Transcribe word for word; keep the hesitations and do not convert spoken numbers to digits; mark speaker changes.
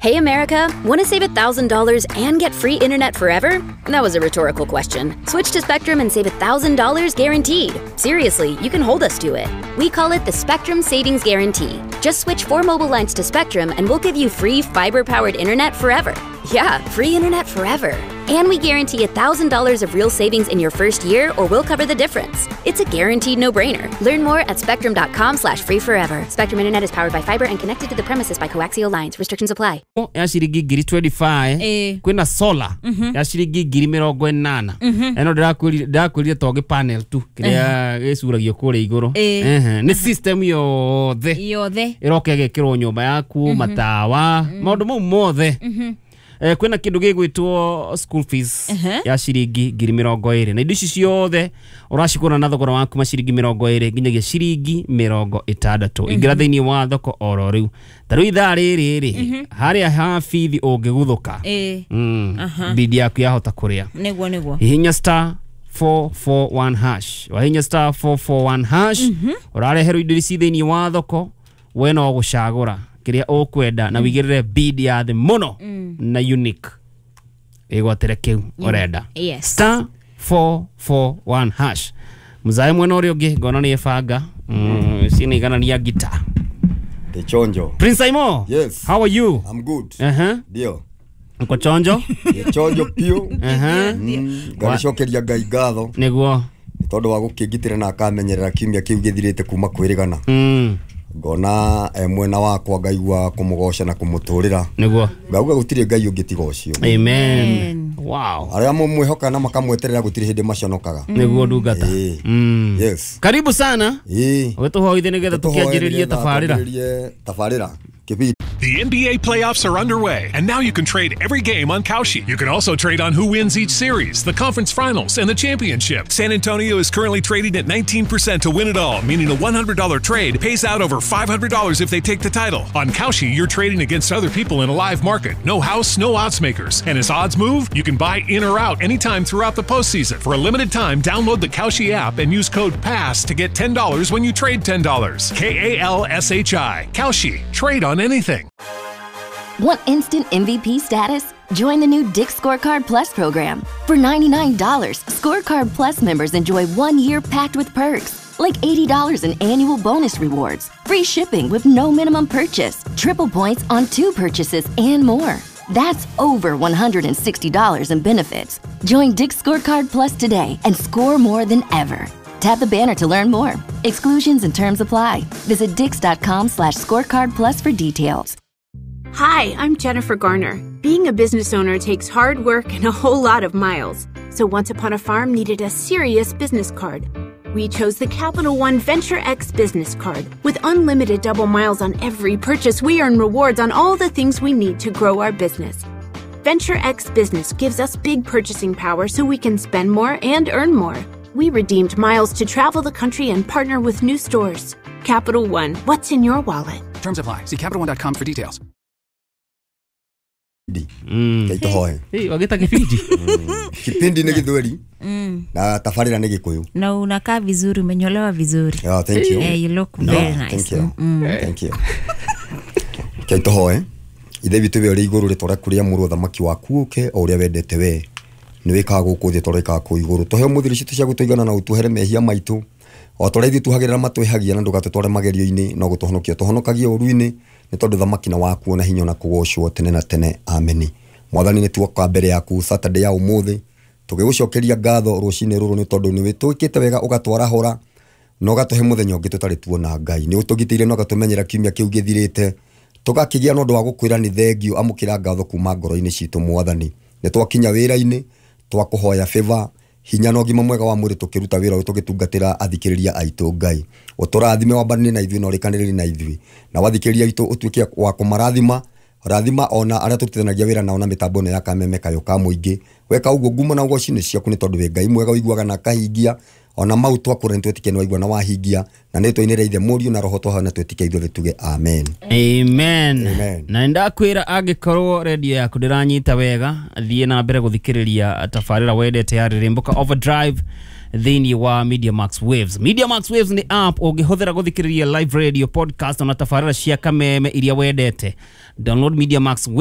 Speaker 1: Hey America, want to save one thousand dollars and get free internet forever? That was a rhetorical question. Switch to Spectrum and save one thousand dollars guaranteed. Seriously, you can hold us to it. We call it the Spectrum Savings Guarantee. Just switch four mobile lines to Spectrum and we'll give you free fiber powered internet forever. Yeah, free internet forever. And we guarantee one thousand dollars of real savings in your first year, or we'll cover the difference. It's a guaranteed no-brainer. Learn more at spectrum dot com slash free forever. Spectrum Internet is powered by fiber and connected to the premises by coaxial lines. Restrictions apply.
Speaker 2: Ya ciringi ngiri mĩrongo ĩĩrĩ na ithano.
Speaker 3: Ĩĩ.
Speaker 2: Kwĩna solar ya ciringi ngiri mĩrongo ĩnana. Ĩno ndĩrakwĩrire ndĩrakwĩrire to gĩ panel tu kĩrĩa gĩcuragio kũrĩa igũrũ.
Speaker 3: Ĩĩ.
Speaker 2: Ehe, nĩ system yothe
Speaker 3: yothe.
Speaker 2: Ĩroka ĩgekĩrwo nyũmba yaku, matawa, maũndũ mau mothe. Eh, kwĩna kĩndũ gĩgwĩtwo school fees
Speaker 3: Ehe.
Speaker 2: ya ciringi ngiri mĩrongo ĩrĩ, na indo ici ciothe ũracigũra na thogora wa kuma ciringi mĩrongo ĩrĩ nginyagia ciringi mĩrongo ĩtandatũ. Ingĩra thĩinĩ wa thoko oro rĩu. Ta rĩu ithaa rĩrĩ rĩ, harĩa ha bithi ũngĩguthũka,
Speaker 3: ĩĩ
Speaker 2: mm, bidi yaku yahota kũrĩa.
Speaker 3: Nĩguo nĩguo.
Speaker 2: Hihinya star four four one hash. Wahihinya star four four one hash, ũrareherwo indo ici thĩinĩ wa thoko. We no gũcagũra kĩrĩa ũkwenda na wĩigĩrĩre bid ya thĩ mũno na unique, ĩgwatĩre kĩu ũrenda.
Speaker 3: Yes.
Speaker 2: star four four one hash. Mũzae mwena ũrĩa ũngĩ ngona nĩ ĩbanga mm, cinaiganania ngita.
Speaker 4: The chonjo.
Speaker 2: Prince Aimo.
Speaker 4: Yes.
Speaker 2: How are you?
Speaker 4: I'm good.
Speaker 2: uh-huh.
Speaker 4: Ndio.
Speaker 2: Uko chonjo?
Speaker 4: The chonjo piũ.
Speaker 2: uh-huh.
Speaker 4: Mm, Ngagĩcokeria Ngai ngatho
Speaker 2: Nĩguo.
Speaker 4: nĩ tondũ wa gũkĩngitĩra na akamenyerera kiumia kĩu gĩthirĩte kuma kwĩrĩgana.
Speaker 2: mm.
Speaker 4: Ngona e mwena wakwa, ngaigua kũmũgoca na kũmũtũrĩra.
Speaker 2: Nĩguo.
Speaker 4: Ngauga gũtirĩ Ngai ũngĩ tiga ũcio.
Speaker 2: Amen, wow.
Speaker 4: Arĩa mamwĩhoka na makamweterera gũtirĩ hĩndĩ maconokaga.
Speaker 2: Nĩguo, ndungata.
Speaker 4: Ĩĩ.
Speaker 2: Mm.
Speaker 4: Yes.
Speaker 2: Karibu sana.
Speaker 4: Ĩĩ.
Speaker 2: Ũgĩtũhoithie nĩgetha
Speaker 4: Tũhoe
Speaker 2: tũkĩanjĩrĩrie
Speaker 4: nĩgetha
Speaker 2: tabarĩra.
Speaker 4: Twambĩrĩrie tabarĩra kĩbindi.
Speaker 5: The N B A playoffs are underway, and now you can trade every game on Kalshi. You can also trade on who wins each series, the conference finals, and the championship. San Antonio is currently trading at nineteen percent to win it all, meaning a one hundred dollar trade pays out over five hundred dollars if they take the title. On Kalshi, you're trading against other people in a live market. No house, no odds makers. And as odds move, you can buy in or out anytime throughout the postseason. For a limited time, download the Kalshi app and use code PASS to get ten dollars when you trade ten dollars. K A L S H I. Kalshi. Trade on anything.
Speaker 1: Want instant M V P status? Join the new Dick's Scorecard Plus program. For ninety-nine dollars, Scorecard Plus members enjoy one year packed with perks, like eighty dollars in annual bonus rewards, free shipping with no minimum purchase, triple points on two purchases, and more. That's over one hundred sixty dollars in benefits. Join Dick's Scorecard Plus today and score more than ever. Tap the banner to learn more. Exclusions and terms apply. Visit dicks dot com slash scorecard plus for details.
Speaker 6: Hi, I'm Jennifer Garner. Being a business owner takes hard work and a whole lot of miles. So Once Upon a Farm needed a serious business card. We chose the Capital One Venture X business card. With unlimited double miles on every purchase, we earn rewards on all the things we need to grow our business. Venture X Business gives us big purchasing power so we can spend more and earn more. We redeemed miles to travel the country and partner with new stores. Capital One, what's in your wallet?
Speaker 7: Terms apply. See Capital One dot com for details.
Speaker 4: Ngai tũhoe.
Speaker 2: Hey, wagĩta kĩbindi.
Speaker 4: Kipindi nĩ gĩthweri na tabarĩra nĩ gĩkũyũ.
Speaker 3: Na unakaa vizuri, umenyolewa vizuri.
Speaker 4: Yeah, thank you.
Speaker 3: Eh, you look very nice.
Speaker 4: Thank you. Thank you. Ngai tũhoe. Ithe witũ we ũrĩ igũrũ, rĩtwa rĩaku rĩamũrwo, thamaki waku ũke, o ũrĩa wendete we nĩ wĩkaga gũkũ thĩ tondũ wĩkaga kũu igũrũ. Tũhe ũmũthĩ irio citũ cia gũtũigana na ũtuohere mehia maitũ o ta ũrĩa ithuĩ tuohagĩrĩra matwĩhagia, na ndũgatũtware magerio-inĩ, no gũtũhonokia tũhonokagie ũru-inĩ, nĩ tondũ thamaki na waku na hinya na kũgocwo tene na tene, ameni. Mwathani, nĩ tuoka mbere yaku Saturday ya ũmũthĩ tũgĩgũcokeria ngatho rũcinĩ rũrũ, nĩ tondũ nĩ wĩtwĩkĩte wega, ũgatwarahũra na ũgatũhe mũthenya ũngĩ tũtarĩ tuona. Ngai, nĩ ũtũgitĩire na ũgatũmenyera kiumia kĩu gĩthirĩte, tũgakĩgĩa na ũndũ wa gũkwĩra nĩ thengio. Amũkĩra ngatho kuma ngoro-inĩ citũ. Mwathani, nĩ twakinya wĩra-inĩ, twakũhoya favor, hinya na ũgima mwega wa mwĩrĩ tũkĩruta wĩra ũyũ, tũgĩtungatĩra athikĩrĩria aitũ. Ngai, ũtũrathime, wambanĩre na ithuĩ na ũrĩkanĩrĩre na ithuĩ na wathikĩrĩria aitũ, ũtuĩke wa kũmarathima. Rathima ona arĩa tũrutithanagia wĩra nao na mĩtambo ĩno ya Kameme Kayũ ka Mũingĩ. Weka ũguo, ngumo na ũgoci nĩ ciaku, nĩ tondũ wĩ Ngai mwega ũiguaga na akahingia. Ona mau twakũra nĩ twĩtĩkie nĩ waigua na wahingia, na nĩ twainĩra Ithe, Mũriũ na Roho, twahoya na twĩtĩkie ithuothe tuge amen.
Speaker 2: Amen.
Speaker 4: Amen.
Speaker 2: Na nĩndakwĩra angĩkorwo redio yaku ndĩranyita wega, thiĩ na mbere gũthikĩrĩria tabarĩra wendete ya Rĩrĩmbũka Overdrive thĩinĩ wa Media Max Waves. Media Max Waves nĩ app ũngĩhũthĩra gũthikĩrĩria live radio, podcast na tabarĩra cia Kameme iria wendete. Download Media Max Waves.